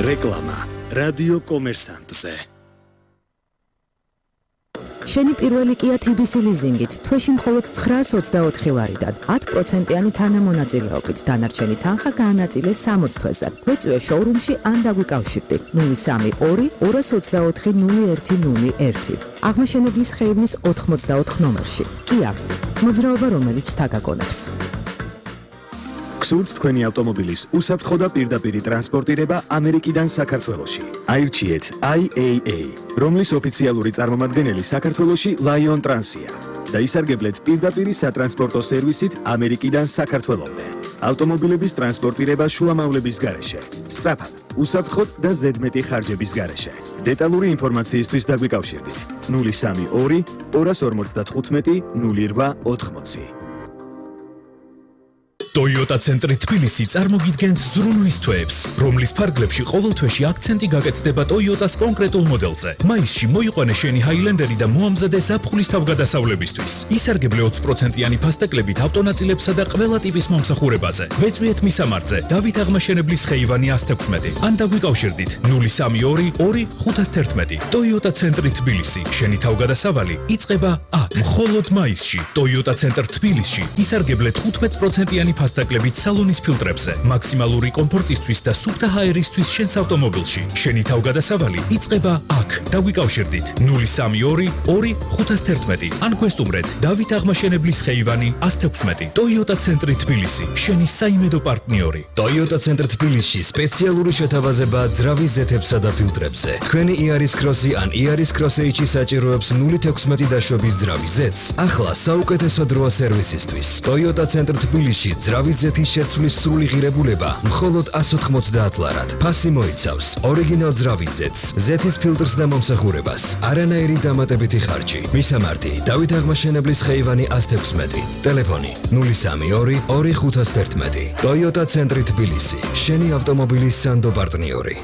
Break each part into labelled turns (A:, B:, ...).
A: რეკლამა რადიო კომერსანტზე.
B: შენი პირველი Kia TBC ლიზინგით თვეში მხოლოდ 924 ლარიდან 10%-იანი თანამონაწილეობით დანარჩენი თანხა გაანაწილე 60 თვეზე. გვეწვია შოურუმში ან დაგვიკავშირდი 032 224 0101. აღმაშენებლის ხეივნის 84 ნომერში. Kia. მოძრაობა რომელიც თაგაგონებს.
A: გსურთ თქვენი ავტომობილის უსაფრთხო და პირდაპირი ტრანსპორტირება ამერიკიდან საქართველოში. აირჩიეთ IAA, რომლის ოფიციალური წარმომადგენელი საქართველოში Lion Trans-ია და ისარგებლეთ პირდაპირი სატრანსპორტო სერვისით ამერიკიდან საქართველომდე. ავტომობილების ტრანსპორტირება შუამავლების გარეშე, სწრაფად, უსაფრთხოდ და ზედმეტი ხარჯების გარეშე. დეტალური ინფორმაციისთვის დაგვიკავშირდით 032 255 0880.
C: Toyota ცენტრი თბილისი წარმოგიდგენთ ზრუნვის თვეებს, რომლის ფარგლებში ყოველ თვეში აქცენტი გაკეთდება Toyota-s კონკრეტულ მოდელზე. მაისში მოიყვანე შენი Highlander-ი და მოამზადე ზაფხულის თავგადასავლებისთვის. ისარგებლე 20%-იანი ფასტეკლებით ავტონაწილებსა და ყველა ტიპის მომსახურებაზე. ვეწვიეთ მისამართზე, დავით აღმაშენებლის ხეივანი 116 ან დაგვიკავშირდით 032 2511. Toyota ცენტრი თბილისი, შენი თავგადასავალი იწყება აქ. მხოლოდ მაისში Toyota ცენტრ თბილისში ისარგებლე 15%-იანი ფასტაკლებით სალონის ფილტრებზე, მაქსიმალური კომფორტისთვის და სუფთა ჰაერისთვის შენს ავტომობილში. შენი თავგადასავალი იწყება აქ. დაგვიკავშირდით 032 2511 ან გვესტუმრეთ დავით აღმაშენებლის ხეივანი 116. Toyota ცენტრი თბილისი, შენი საიმედო პარტნიორი.
D: Toyota ცენტრ თბილისში სპეციალური შეთავაზება ძრავის ზეთებსა და ფილტრებზე. თქვენი Yaris Cross-ი ან Yaris Cross-H-ი საჭიროებს 0.16 დაშვების ძრავის ზეთს. ახლა საუკეთესო დროა სერვისისთვის. Toyota ცენტრ თბილისში ძრავის ზეთის შეცვლის სრული ღირებულება მხოლოდ 190 ლარად. ფასი მოიცავს ორიგინალ ძრავის ზეთს, ზეთის ფილტრს და მომსახურებას, არანაირი დამატებითი ხარჯი. მისამართი დავით აღმაშენებლის ხეივანი 116. ტელეფონი 032 2511. Toyota ცენტრი თბილისი, შენი ავტომობილის სანდო პარტნიორი.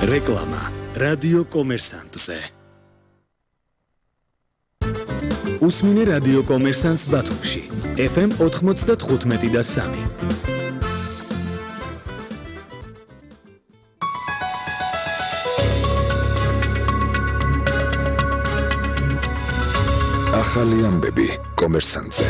A: რეკლამა რადიო კომერსანტზე. უსმინე რადიო კომერსანტს ბათუმში FM 95 და 3.
E: ახალი ამბები კომერსანტზე.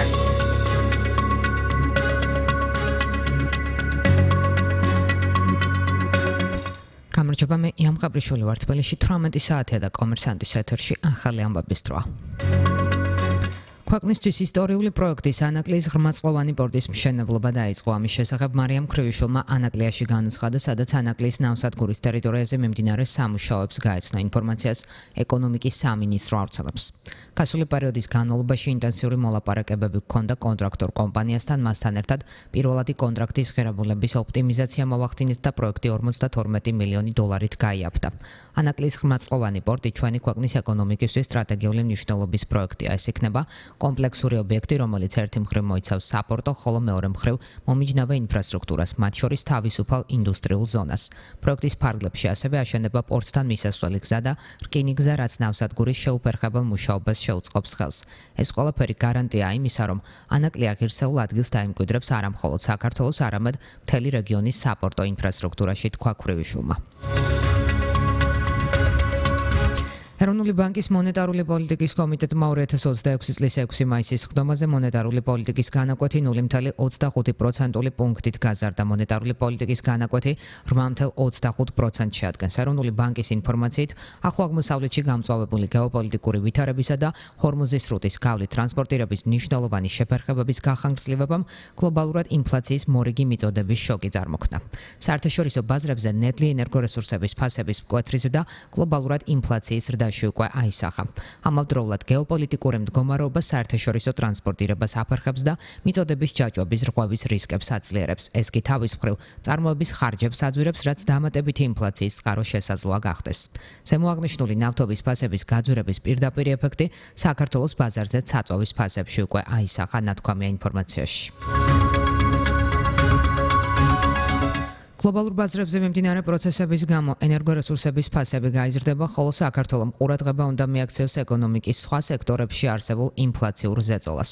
B: გამარჯობა, მე იამ ყაბრიშვილი ვარ. თბილისში 18 საათია და კომერსანტის ეთერში ახალი ამბების დროა. ქვეყნისთვის ისტორიული პროექტის ანაკლიის ღრმაწლოვანი პორტის მშენებლობა დაიწყო. ამის შესახებ მარიამ ქრივიშვილმა ანაკლიაში განაცხადა, სადაც ანაკლიის ნავსადგურის ტერიტორიაზე მიმდინარე სამუშაოებს გაეცნო. ინფორმაციას ეკონომიკის სამინისტრო ავრცელებს. გასული პერიოდის განმავლობაში ინტენსიური მოლაპარაკებები ჰქონდა კონტრაქტორ კომპანიასთან, მასთან ერთად პირველადი კონტრაქტის ღირებულების ოპტიმიზაცია მოახდინეთ და პროექტი 52 მილიონი დოლარით გაიაფთა. ანაკლიის ღრმაწლოვანი პორტი ჩვენი ქვეყნის ეკონომიკისთვის სტრატეგიული მნიშვნელობის პროექტია. ეს იქნება კომპლექსური ობიექტი, რომელიც ერთი მხრივ მოიცავს საპორტო, ხოლო მეორე მხრივ მომიჯნავე ინფრასტრუქტურას, მათ შორის თავისუფალ ინდუსტრიულ ზონას. პროექტის ფარგლებში ასევე აშენება პორტთან მისასვლელი გზა და რკინიგზა, რაც ნავსადგურის შეუფერხებელ მუშაობას შეუწყობს ხელს. ეს ყველაფერი გარანტია იმისა, რომ ანაკლი ღირსეულ ადგილს დაიმკვიდრებს არა მხოლოდ საქართველოს, არამედ მთელი რეგიონის საპორტო ინფრასტრუქტურაში, თქვა ქრივიშვილმა. ეროვნული ბანკის მონეტარული პოლიტიკის კომიტეტმა 2026 წლის 6 მაისის სხდომაზე მონეტარული პოლიტიკის განაკვეთი 0.25% პუნქტით გაზარდა. მონეტარული პოლიტიკის განაკვეთი 8.25% შეადგენს. ეროვნული ბანკის ინფორმაციით, ახლო აღმოსავლეთში გამწვავებული გეოპოლიტიკური ვითარებისა და ჰორმუზის სრუტის გავლით ტრანსპორტირების მნიშვნელოვანი შეფერხებების გახანგრძლივებამ გლობალურად ინფლაციის მორიგი მიწოდების შოკი წარმოქმნა. საერთაშორისო ბაზრებზე ნედლი ენერგორესურსების ფასების მკვეთრი ზრდა გლობალურად ინფლაციის ზრდაში უკვე აისახა. ამავდროულად გეოპოლიტიკური მდგომარეობა საერთაშორისო ტრანსპორტირებას აფერხებს და მიწოდების ჯაჭვების რღვევის რისკებს აძლიერებს. ეს კი თავის მხრივ წარმოების ხარჯებს აძვირებს, რაც დამატებითი ინფლაციის წყარო შესაძლოა გახდეს. ზემოაღნიშნული ნავთობის ფასების გაძვირების პირდაპირი ეფექტი საქართველოს ბაზარზე საწვავის ფასებში უკვე აისახა, ნათქვამია ინფორმაციაში. გლობალურ ბაზრებზე მიმდინარე პროცესების გამო ენერგორესურსების ფასები გაიზრდება, ხოლო საქართველომ ყურადღება უნდა მიაქციოს ეკონომიკის სხვა სექტორებში არსებულ ინფლაციურ ზეწოლას.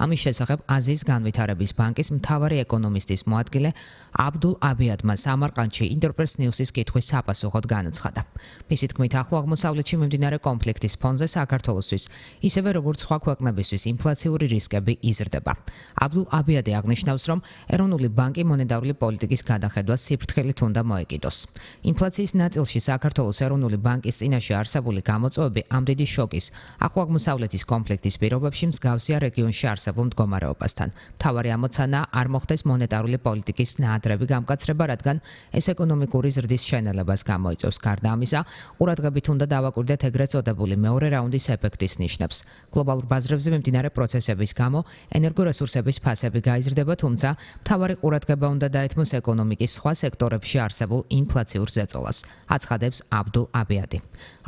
B: ამის შესახებ აზიის განვითარების ბანკის მთავარი ეკონომისტის მოადგილე აბდულ აბიადმა სამარყანდში ინტერპრეს ნიუსის კითხვის საპასუხოდ განაცხადა. მისი თქმით, ახლო აღმოსავლეთში მიმდინარე კონფლიქტის ფონზე საქართველოსთვის, ისევე როგორც სხვა ქვეყნებისთვის, ინფლაციური რისკები იზრდება. აბდულ აბიადი აღნიშნავს, რომ ეროვნული ბანკი მონეტარული პოლიტიკის გადახედვას სიფრთხილით უნდა მოეკიდოს. ინფლაციის ნაწილში საქართველოს ეროვნული ბანკის წინაშე არსებული გამოწვევები ამ დიდი შოკის, ახლო აღმოსავლეთის კონფლიქტის პირობებში მსგავსია რეგიონში არსებულ მდგომარეობასთან. მთავარი ამოცანაა არ მოხდეს მონეტარული პოლიტიკის ნაადრევი გამკაცრება, რადგან ეს ეკონომიკური ზრდის შენელებას გამოიწვევს. გარდა ამისა, ყურადღებით უნდა დავაკვირდეთ ეგრეთ წოდებული მეორე რაუნდის ეფექტის ნიშნებს. გლობალურ ბაზრებზე მიმდინარე პროცესების გამო ენერგორესურსების ფასები გაიზრდება, თუმცა მთავარი ყურადღება უნდა დაეთმოს ეკონომიკის სხვა სექტორებში არსებულ ინფლაციურ ზეწოლას, აცხადებს აბდულ აბიადი.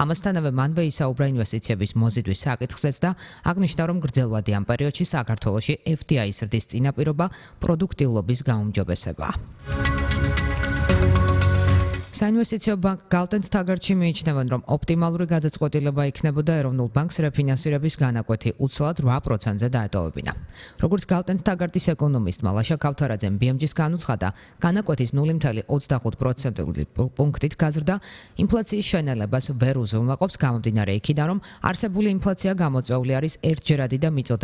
B: ამასთანავე მანვე ისაუბრა ინვესტიციების მოზიდვის საკითხზეც და აღნიშნა, რომ გრძელვადი ამ პერიოდში საქართველოში FDI-ის ზრდის წინაპირობა პროდუქტიულობის გაუმჯობესებაა. საინვესტიციო ბანკ Galten Tagartში მიიჩნევენ, რომ ოპტიმალური გადაწყვეტილება იქნებოდა ეროვნულ ბანკს რეფინანსირების განაკვეთი უცვლად 8%-ზე დაეტოვებინა. როგორც Galten Tagartis ეკონომისტმა ლაშა ქავთარაძემ BMG-ს განუცხადა, განაკვეთის 0.25% პუნქტით გაზრდა ინფლაციის შენელებას ვერ უზრუნველყოფს, გამომდინარე იქიდან, რომ არსებული ინფლაცია გამოწვეული არის ერთჯერადი და მიწოდებული